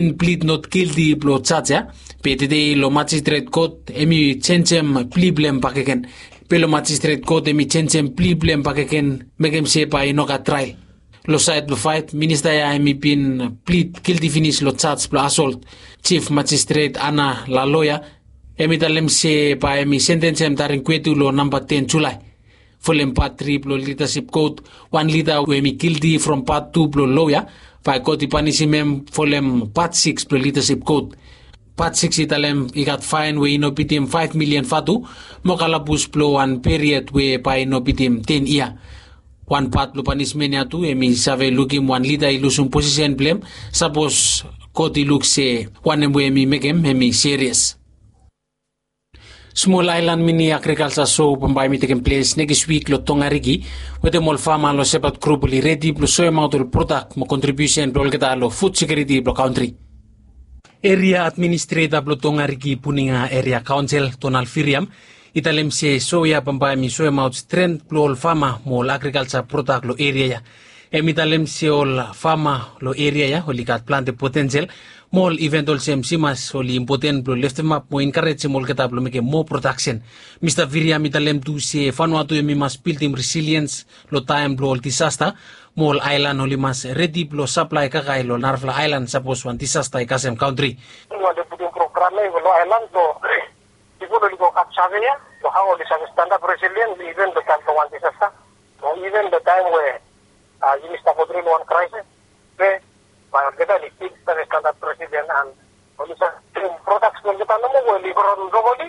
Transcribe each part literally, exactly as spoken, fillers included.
Plid not gilti blong jaj ya. Be tede long majistret kot em i jenjem pli blong em bakegen. Be long majistret kot em i jenjem pli blong em bakegen, mekem se bae i no gat trael. Long saed blong faet, minista ya em i bin plid gilti finis long jaj blong asolt. Jif Majistret Ana Laloya em i talem se bae em i sentensem Taring Kwetu long namba ten Julae. Folem pat tri blong lidasip kot, wan lida we em i gilti from pat tu blong loa ya, bae kot i panisim em folem pat siks blong lidasip kot. Pat siks i talem i gat faen we i no bitim faef milian vatu, mo kalabus blong wan period we bae i no bitim ten yia. Wan pat blong panismen ya tu em i save lukim wan lida i lusum posisen blong em, sapos kot i luk se wanem we em i mekem em i serias. Smol aelan mini agrikalsa so bambae em i tekem ples nekis wik long Tongariki, wetem ol fama long Sepat grup oli redi blong soemaot ol prodak mo kontribiusen blong olgeta long fud sekiuriti blong kantri. Eria administreta blong Tongariki Puninga Eria Kaonsel, Donald Viriam, i talem se so ya bambae em i soemaot stren blong ol fama mo ol agrikalsa prodak long eria ya. Em i talem se ol fama long eria ya oli gat plante potensel mo ol iven olsem simas oli impoten blong leftemap mo enkarejem olgeta blong mekem moa prodaksen. Mista Viriam i talem tu se Vanuatu em i mas bildim resiliens long taem blong ol disasta, mo ol aelan oli mas redi blong saplae kakae long narafala aelan sapos wan disasta i kasem kantri. Oli putum program ya i go long aelan blong pipol oli go gat save ya long hao oli save stanap resilien iven long taem blong wan disasta. Mo iven long taem we yumi stap go tru long wan kraesis, be bae olgeta oli stil save stanap resilien an oli save prodaks blong olgeta nomo we oli gro nogoli,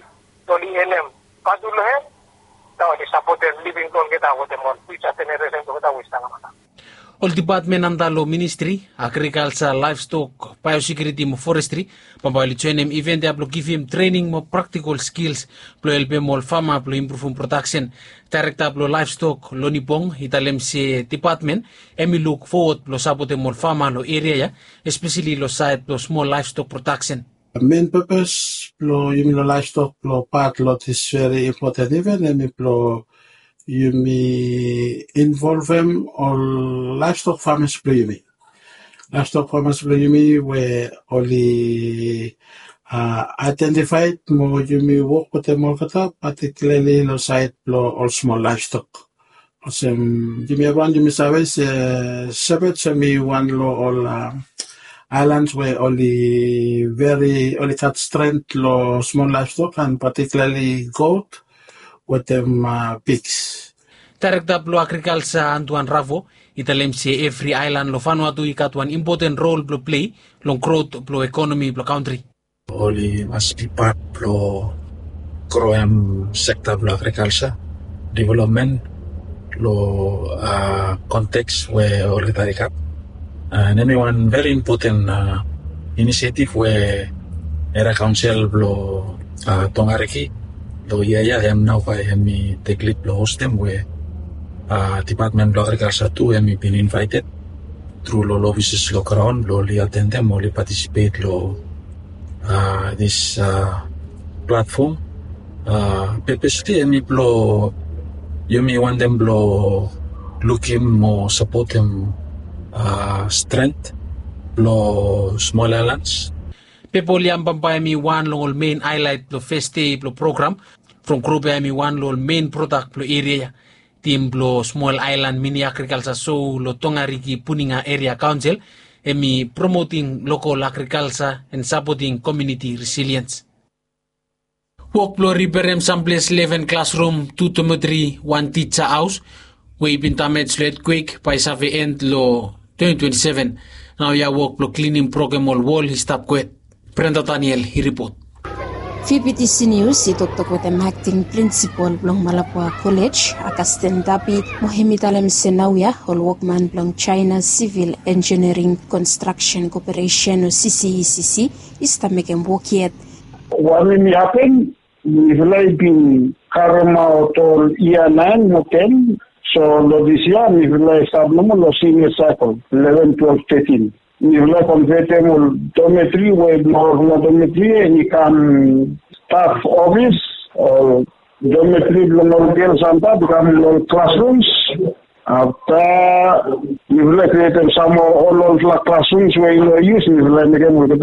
oli enem vatu long hem, na oli sapotem living blong olgeta wetem ol fiuja jeneresen blong olgeta we i stap long mata. Ol dipatmen anta long ministri agrikalsa, laevstok, baeosekiuriti mo forestri bambae oli joenem iven ya blong givim trening mo praktikol skils blong helpem ol fama blong impruvum prodaksen. Daerekta blong laevstok, Loni Bong, i talem se dipatmen em i luk fowod blong sapotem ol fama long eria ya, espeseli long saed blong smol laevstok prodaksen. Men pepes blong yumi long laevstok blong pat long dis veri impoten iven em i blong yumi involvem ol laevstok famas blong yumi. Laevstok famas blong yumi we oli aedentifaed mo yumi wok wetem olgeta, patikilarli long saed blong ol smol laevstok. Olsem yumi evriwan yumi save se Sepat em i wan long ol aelans we oli veri, oli gat stren long smol laevstok an patikilarli got wetem piks. Daerekta blong agrikalsa, Antuan Ravo, i talem se evri aelan long Vanuatu i gat wan impoten rol blong plei long grot blong ekonomi blong kantri. Oli mas bi pat blong groem sekta blong agrikalsa developmen long konteks we olgeta i gat. An em i wan veri impoten inisiativ we Eria Kaonsel blong Tongariki long yia ya, em nao bae em i tek lid blong hostem we dipatmen blong agrikalsa tu em i bin invaeted tru long ol ofises long graon blong oli atendem, oli patisipet long dis platfom. Pepes tu em i blong yumi wantem blong lukim mo sapotem stren blong smol aelans. Pepol Yam bambae em i wan long ol mein aelaet blong fes dei blong program from grup ya em i wan long ol mein prodak blong eria ya. Tim blong smol aelan mini agrikalsa so long Tongariki Puninga Eria Kaonsel em i promoting lokol agrikalsa an sapoting komuniti resiliens. Wok blong riperem samples leven klasrum, tu dometri, wan tija haos we i bin damej long etkwek bae i save en long twenty twenty-seven. Naoia wok blong klinim, brokem ol wol i stap gohed. Brenda Daniel i ripot. VBTC News i toktok wetem akting prinsipol blong Malabwa Kolej, Augustine Dabi, mo hem i talem se naoia ol wokman blong China Civil Engineering Construction Corporation o CCECC i stap mekem wok yet. Wanem i hapen, mifala i bin karemaot ol yia naen mo ten, so long dis yia mifala i stap nomo long sinia saekol, leven, twelef, tetin. Mifala i konvetem ol dometri we blong olfala dometri ya i kam staf ofis, ol dometri blong ol gels antap i kam long ol klasrums. Afta mifala i krietem sam ol olfala klasrums we i no yus, mifala i mekem olgeta